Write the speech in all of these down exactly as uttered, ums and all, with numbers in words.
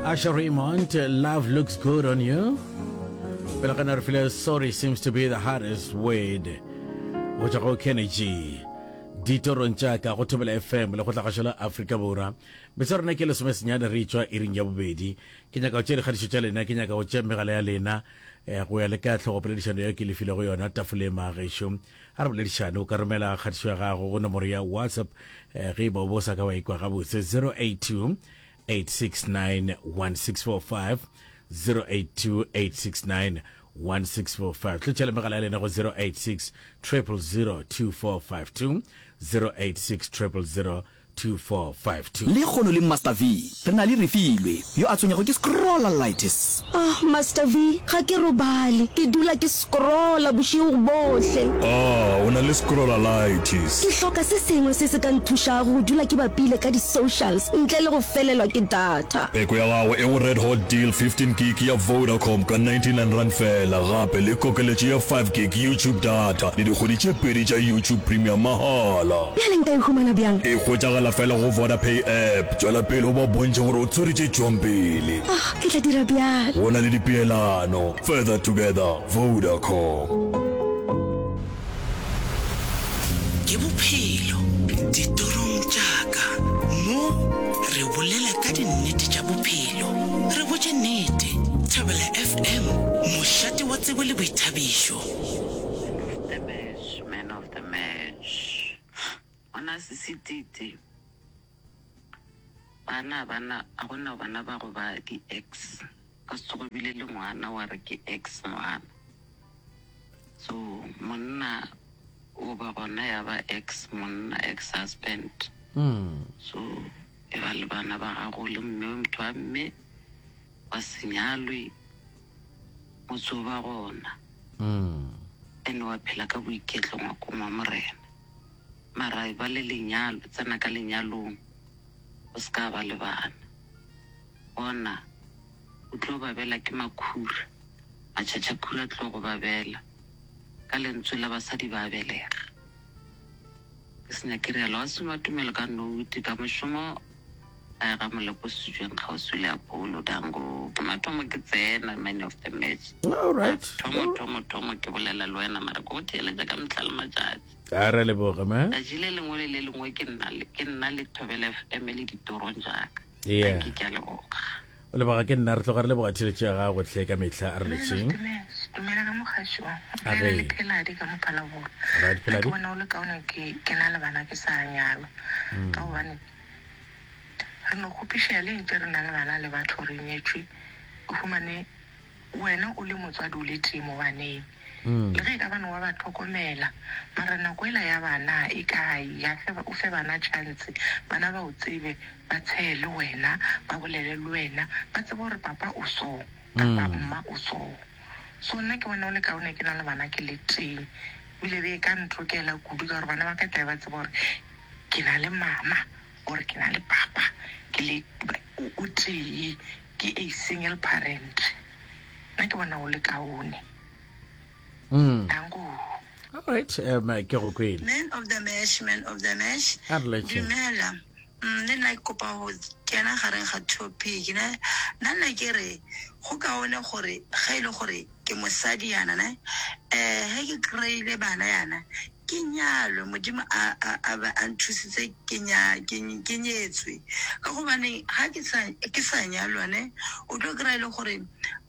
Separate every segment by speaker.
Speaker 1: Usher Raymond, love looks good on you. Pele ga na re file sorry seems to be the hardest word. Go tšwa go Kenny G. Ditorong tša ka go Thobela FM le go tla gašo la Afrika Borwa. Metso rena ke lesome senyane re tšwa iring ya bobedi. Ke nyaka go tšea dikgatišo tša lena, ke nyaka go tšea megala ya lena eh, go ya le ka tlhogopoledišano ya ke le filego yona tafoleng magešo. A re boledišane, o ka romela kgatišo ya gago go nomoro ya WhatsApp eh, ge e ba o bo sa ka wa ikwa gabotse zero eight two eight six nine one six four five zero eight two eight six nine one six four five. Tlotšela megala ya lena go zero eight six triple zero two four five two zero eight six triple zero two four five two.
Speaker 2: Lekgono le Master V re na le Refilwe yo a tshwenyago ke scrollalitis.
Speaker 3: Ah, Master V, ga ke robale. Ke dula ke scrolla bošego bohle.
Speaker 4: Ah, o na le scrollalitis.
Speaker 3: Ke hloka se sengwe se se ka nthušago go dula ke bapile ka di-socials ntle le go felelwa ke data.
Speaker 4: Peko ya gago e go Red Hot Deal fifteen gig ya Vodacom ka ninety-nine rand fela, gape le kokeletšo ya five gig YouTube data le dikgwedi tše pedi tša YouTube Premium mahala.
Speaker 3: Bjale nka e humana bjang?
Speaker 4: E hwetšagala fela go Vodapay app. Tšwela pele o ba bontšhe gore o tshwere tše tšwang pele.
Speaker 3: Ah, ke tla dira bjalo.
Speaker 4: Go na le dipeelano. Further together, Vodacom.
Speaker 5: Ke bophelo ditorong tša ka. Mo re bolela ka dinnete tša bophelo. Re botše nnete. Thobela F M, mošate wa tsebo le boithabišo.
Speaker 6: The match, man of the match. Ona sisititi. Bana bana a gona bana ba go ba di ex. Ka se tsoge bile le ngwana wa re ke ex ngwana. So monna o ba gona ya ba ex monna, ex husband. So e ba le bana ba gago le mme motho wa mme wa se nyalwe motse o ba gona. And wa phela ka boiketlo ngwakong wa Morena. Mara e ba le lenyalo, tsena ka lenyalong, o se ka ba le bana. Bona, o tlo babela ke makhura, matšhatšhakhura a tlo go babela. Ka lentswe la basadi ba belega. Ke se nyake realo, wa soma tumelo ka noute, ka mošomo gae ga Molepo Setšweng kgauswi le Apollo. Dango, ke mathomo ke tsena man of the match.
Speaker 1: All right.
Speaker 6: Thomo, thomo, thomo ke bolela le wena, mara ke go theeletša ka mehla le matšatši.
Speaker 1: A re leboge, ma.
Speaker 6: Tšatši le lengwe le le lengwe ke nna le, ke nna le Thobela F M le ditorong tša ka.
Speaker 1: Yeah.
Speaker 6: Dankie, ke a leboga.
Speaker 1: O leboga ke nna, re tloga re leboga theeletšo ya gago hle ka mehla, a re letšeng.
Speaker 7: Dumela ka mogašo.
Speaker 1: A
Speaker 7: Bolela
Speaker 1: re.
Speaker 7: le Pheladi ka mo Phalaborwa.
Speaker 1: Right,
Speaker 7: Nna ke
Speaker 1: Pheladi.
Speaker 7: bona o le kaone ke ke na le bana ke sa nyalwa. Ka gobane re no kgopišega le ntše re na le bana le batho re nyetšwe, o humane wena o le motswadi o le tee mo baneng. Le ge e ka bane wa ba hlokomela, mara nako ela ya bana e kae? Ya fe, o fe bana chance, bana ba o tsebe, ba tshehe le wena, ba bolele le wena, ba tsebe gore papa o so, kapa mma o so. So nna ke bona o le kaone ke na le bana ke le tee, ebile be e ka ntokela kudu ka gore bana ba ka tlabe ba tseba gore ke na le mama or ke na le papa, ke le o tee, ke a single parent. Nna ke bona o le kaone. Danko.
Speaker 1: All right, um, ke go kwele.
Speaker 8: Man of the match, man of the match.
Speaker 1: A re letše.
Speaker 8: Dumela. Mm, le nna ke kopa go kena gareng ga topic ne. Nna nna ke re go kaone gore ge e le gore ke mosadi yana ne, eh ge ke kry-ile bana yana ke nyalwe, Modimo a, a, a be a nthusitse ke nya, ke, ke nyetswe. Ka gobane ga ke sa, ke sa nyalwa ne, o tlo kry-a e le gore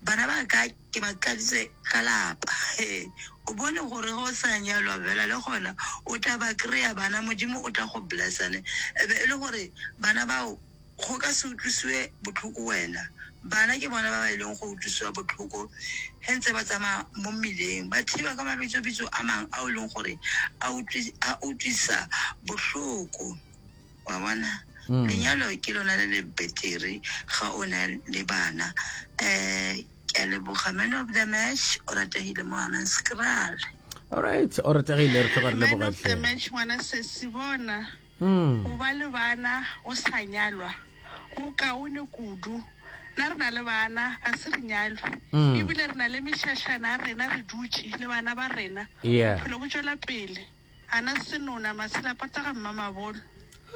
Speaker 8: bana ba ka ke ba tladitse ka lapa. He, o bone gore ge o sa nyalwa fela le gona o tla ba kry-a bana, Modimo o tla go blessa ne. E be e le gore bana bao go ka se utlwisiwe bohloko wena. Bana ke bona ba ba ileng go utlwisiwa bohloko ge ntse ba tsamaya mo mmileng, ba thiba ka mabitsobitso a mang ao e leng gore a utlwi-, a utlwisa bohloko. Wa bona? Lenyalo ke lona le le betere ga o na le bana. Um ke a leboga man of the match, o rategile mo Hammanskraal.
Speaker 1: All right, o rategile, re tloga re
Speaker 7: Man
Speaker 1: leboga
Speaker 7: of the
Speaker 1: hle.
Speaker 7: match, ngwana sesi, bona go ba le bana o sa nyalwa go kaone kudu. Nna re na le bana, ga se re nyalwe, ebile re na le mešašana ya rena, re dutše le bana ba rena,
Speaker 1: Yeah.
Speaker 7: bophelo bo tšwela pele. Ana senona, masela pata ga mmamabolo.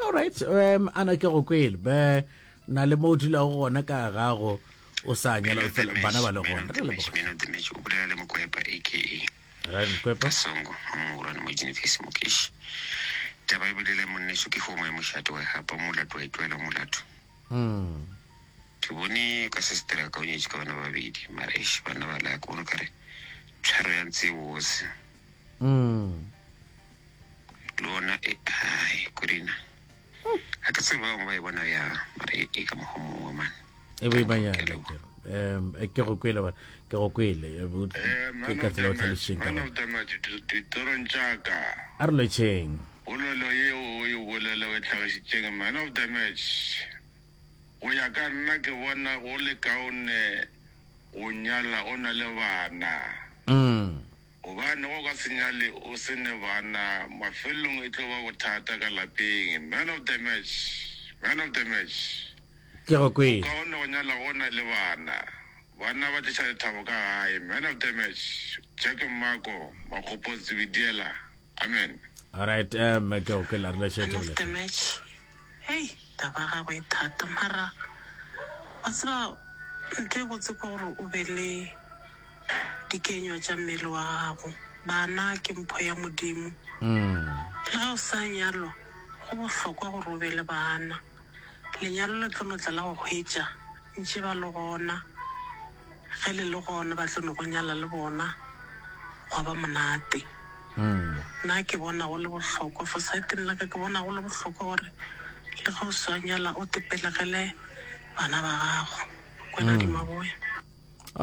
Speaker 1: All right, um, ana ke go kwele. Be Na le mo o dulago gona ka gago o sa nyala fela bana ba le gona. Re leboga.
Speaker 9: Man of the match o bolela le Mokwepa aka
Speaker 1: Right, Mokwepa.
Speaker 9: Kasongo wa mogolwane mo Genesis Mokeshi. Taba e bolela monneso ke homo ya mošate wa e gapa molato wa e tlohela molato.
Speaker 1: Mm.
Speaker 9: Ke bone ka sister ya ka o nyetše ka bana ba babedi mara eish bana ba la ke bone kare tshwaro ya ntse e bose.
Speaker 1: Mm.
Speaker 9: Le ona e ai korina. Ga ke tsebe ba bangwe ba e bona bjang mara e, e ka mokgwa mongwe man.
Speaker 1: E boimanyana ke. Um ke go kwele bana, ke go kwele. Eh,
Speaker 10: Eh,
Speaker 1: Ke
Speaker 10: man
Speaker 1: ka
Speaker 10: of
Speaker 1: tsela
Speaker 10: the
Speaker 1: o
Speaker 10: match,
Speaker 1: tlhalošitšeng ka
Speaker 10: man
Speaker 1: gona.
Speaker 10: of the match, ditorong tša ka.
Speaker 1: A re lotšheng.
Speaker 10: Polelo yeo o e bolela o e hlagišitšeng, man of the match. Go ya ka nna ke bona go le kaone go nyala o na le bana.
Speaker 1: Mm.
Speaker 10: Gobane go ka se nyale o se ne bana, mafelelong e tlo ba bothata ka lapeng. Man of the match, man of the match.
Speaker 1: Ke go kwele.
Speaker 10: Kaone go nyala go na le bana. Bana ba tliša lethabo ka gae. Man of the match, Jack Mmako, Makgopo Tsibidiela. Amen.
Speaker 1: All right, um ke go kwele a re lotšheng
Speaker 7: Man of
Speaker 1: Thobela
Speaker 7: the
Speaker 1: F M.
Speaker 7: match. Hei, taba ya gagwe e thata mara wa tseba ntho e botse ke gore o be le dikenywa tša mmele wa gago. Bana ke mpho ya Modimo.
Speaker 1: Mm.
Speaker 7: Le ge o sa nyalwa, go bohlokwa gore o be le bana. Lenyalo le tlo no tla la go hwetša ntše ba le gona. Ge le le gona ba tlo no go nyala le bona, gwa ba monate.
Speaker 1: Mm.
Speaker 7: Nna ke bona go le bohlokwa, for saeteng la ka ke bona go le bohlokwa gore le ge o sa nyala o tepelegele bana ba gago. Kwena
Speaker 1: Mm.
Speaker 7: di maboya.